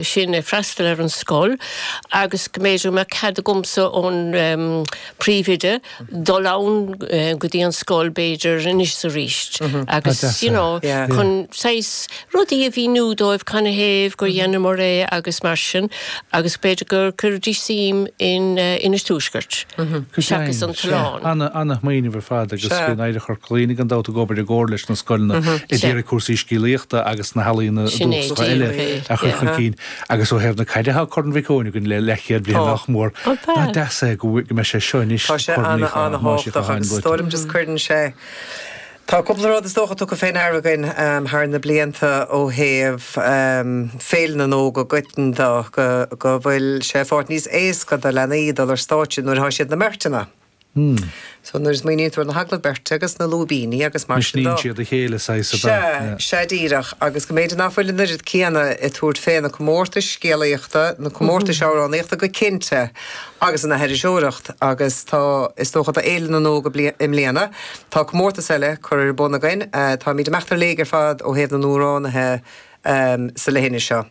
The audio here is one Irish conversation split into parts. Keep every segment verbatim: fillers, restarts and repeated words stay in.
Sin ag freastal ar an scoil agus go mb'fhéidir go mbeadh cead agamsa ón príomhoide dul ann go dtí an scoil b'fhéidir anois is arís agus you know chun saghas rudaí a mhíniú dóibh canathaobh gur dheineamar é agus mar sin agus b'fhéidir gur cuirfidís suim in Inis Tuaiscirt seachas an t-oileán. Ana-smaoineamh ar fad agus bíonn Oidhreacht Chorca Dhuibhne gan dabht ag obair i gcomhar leis na scoileanna ag iarraidh cúrsaí scéalaíochta agus na healaíona dúchasacha eile a chur chun cinn. Agus ó thaobh na caide tá Corn Mhic Eoin againn le leathchéad bliain nach mór. Nach deas é go mbeidh sé seo anois Tá sé ana-ana-thábhachtach agus is dóigh liom just cuireann sé Tá cúpla rud is dócha tugtha fé ndeara againn thar na blianta ó thaobh Féile na nÓg i gcoitinne de, go go bhfuil sé fáilt níos éasca do leanaí dul ar stáitse nuair atá siad na mbeirteanna. So nuair a smaoiníonn tú ar na hagallaimh beirte agus na lúibíní agus mar sin de. Misníonn siad a chéile saghas ab ea? Sea, sea díreach. Agus go mb'fhéidir nach bhfuil an oiread céanna ag tabhairt fé na comórtais scéalaíochta, na comórtais amhránaíochta go cinnte, agus an aithriseoireacht. Agus tá, is dócha do Fhéile na nÓg i mbliana, tá comórtas eile curtha ar bun againn. Táimid ag imeacht ar léig ar fad ó thaobh na n-amhránaithe sa leithinis seo.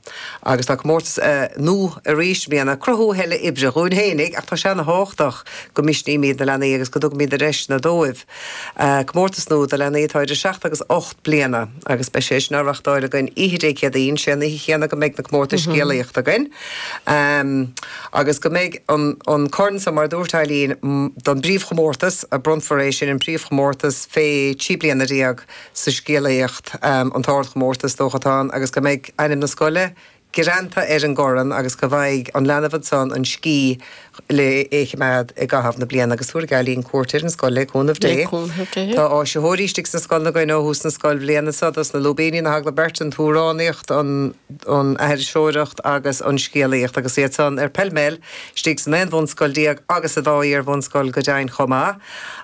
Agus tá comórtas nua arís i mbliana, cruthú a thuilleadh oibre dhúinn fhéinig, ach tá sé ana-thábhachtach go misnímid na leanaí agus go dtugaimid na deiseanna dóibh. Comórtas nua do leanaí atá idir seacht agus ocht bliana agus beidh sé sin á reachtáil againn oíche Dé Céadaoin, sé an oíche chéanna go mbeidh na comórtais scéalaíochta againn. Agus go mbeidh an corn so, mar a dúirt Eileen, don bpríomhchomórtas, a bronnfar é sin, an príomhchomórtas fé trí bliana déag, sa scéalaíocht, an t-ardchomórtas, is dócha atá ann, agus go mbeidh ainm na scoile greanta ar an gcorn agus go bhfaighidh an leanbh ansan an scíth le é choimeád i gcaitheamh na bliana. Agus tabharfaidh Eileen cuairt ar an scoil le cúnamh Dé. Le cúnamh Dé. Tá áisitheoirí istigh sna scoileanna againn ó thús na scoilbhliana seo, dos na lúibíní, na hagallaimh beirte, an t-amhránaíocht, an an aithriseoireacht agus an scéalaíocht agus iad san ar pell mell istigh san aon bhunscoil déag agus sa dá iar-bhunscoil go deimhin chomh maith.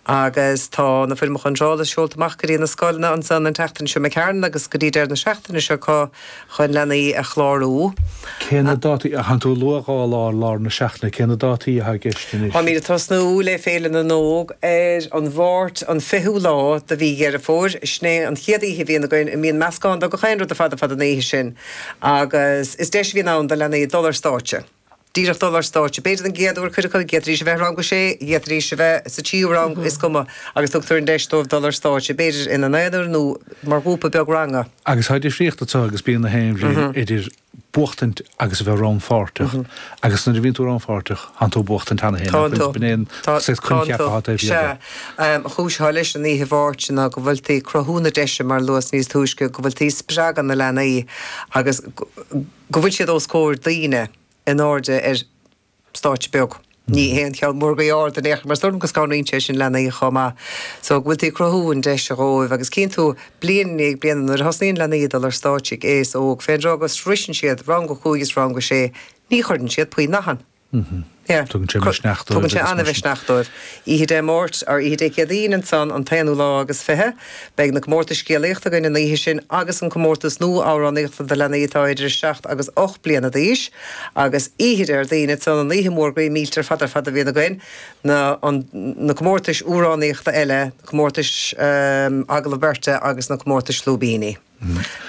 Agus tá na foirmeacha iontrála seolta amach go dtí na scoileanna ansan an tseachtain seo imigh tharainn agus go dtí deireadh na seachtaine seo acu chun leanaí a chlárú. Cé na dátaí, thánn tú ag lua dhá lá i lár na seachtaine, cé na dátaí atá i gceist anois? Táimid ag tosnú le Féile na nÓg ar an Mháirt an fichiú lá de mhí Dheireadh Fómhair. Sin é an chéad oíche a bhíonn againn a mbíonn meascán de gach aon rud ar fad ar fad an oíche sin agus is deis a bhíonn ann do leanaí dul ar stáitse. Díreach dul ar stáitse. B'fhéidir don gcéad uair, cuid acu, d'fhéadfaidís a bheith i rang a sé, d'fhéadfaidís a bheith sa tríú rang, is cuma, agus tugtar an deis dóibh dul ar stáitse, b'fhéidir ina n-aonar nó mar ghrúpa beag ranga. Agus tá difríocht anseo agus bíonn na haon bhliain idir buachtaint agus a bheith rannpháirteach. Agus nuair a bhíonn tú rannpháirteach, thánn tú ag buachtaint cheana féin. Tánn tú. B'in é an saghas Tánn coincheap tú. atá taobh thiar Sea. de. An chúis atá leis an oíche Mháirt ná go bhfuil tú ag cruthú na deise, mar a luas níos túisce, go bhfuil tú ag spreagadh na leanaí agus go bhfuil siad os comhair daoine in airde ar stáitse beag. Ní haon cheann mór groí ard in aon chor, mar is dóigh liom go scanraíonn sé sin leanaí chomh maith. So go bhfuil tú ag cruthú an deis dhóibh agus cíonn tú bliain i ndiaidh bliana nuair a thosnaíonn leanaí ag dul ar stáitse ag aos óg, fén dtráth go sroiseann siad rang a cúig is rang a sé, ní chuireann siad puinn nathan. Yeah. Tugann sé misneach dóibh. Tugann sé an-mhisneach dóibh. Oíche Dé Máirt, or oíche Dé Céadaoin ansan, an t-aonú lá agus fiche, beidh na comórtais scéalaíochta againn an oíche sin agus an comórtas nua amhránaíochta do leanaí atá idir a seacht agus ocht bliana d'aois. Agus oíche Déardaoin ansan, an oíche mhór groí millteach ar fad ar fad a bhíonn againn, na, an, na comórtais amhránaíochta eile, na comórtais agallamh beirte agus na comórtais lúibíní.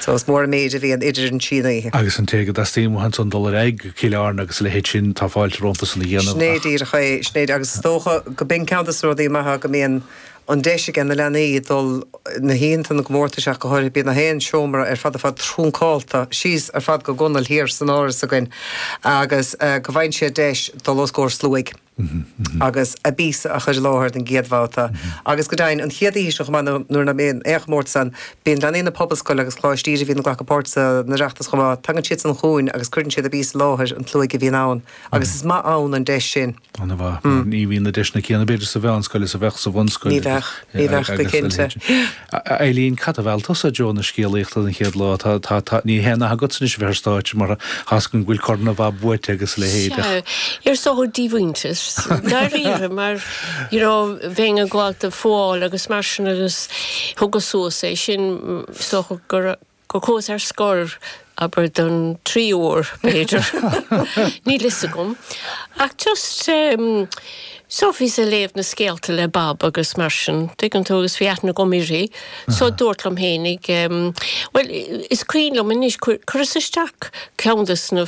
So is mór an méid a bhíonn idir an trí oíche. Agus an té go dteastaíonn uathu ansan dul ar aghaidh go Cill Airne agus a leithéid sin, tá fáilte rompu san a dhéanamh Sin é ach. díreach é, sin é, agus is dócha go b'in ceann de na rudaí maithe go mbíonn an deis ag na leanaí dul na hoícheanta na gcomórtais ach go háirithe, bíonn na haon seomra ar fad ar fad trúncálta síos ar fad go gunail thiar san áras againn agus go bhfaigheann siad deis dul os comhair sluaigh. agus a bpíosa a chur i láthair don gcéad bhabhta. Agus go deimhin, an chéad oíche seo chomh maith, nuair nach mbíonn aon chomórtas ann, bíonn leanaí na Pobalscoile agus Coláiste Íde a bhíonn ag glacadh páirt san Oireachtas chomh maith, tagann siadsan chugainn agus cuireann siad a bpíosa i láthair an tslóigh a bhíonn ann. Agus is maith ann an deis sin. An-mhaith. Ní bhíonn na deiseanna céanna, b'fhéidir, sa mheánscoil is a bheadh sa bhunscoil. Ní bheadh. Ní bheadh, go cinnte. Eileen, cad a mheall tusa i dtreo na scéalaíochta den chéad lá? Tá, tá, tá, ní haon nath agatsa anois a bheith ar stáitse mar tá's agam go bhfuil corn mhaith buaite agus a leithéid ach. Sea, is dócha díomhaointeas, dáiríre, mar, you know, bheinn ag gabháil do fuáil agus mar sin agus thugas suas é sin, is dócha gur, gur chuas ar scor, abair, don tríú huair, b'fhéidir. Níl fhios agam. Ach just, em, So bhíos ag léamh na scéalta le Bob agus mar sin, tuigeann tú agus bhí aithne agam uirthi, so dúrt liom fhéinig, bhuel, is cuimhin liom anois, chuireas isteach ceann de na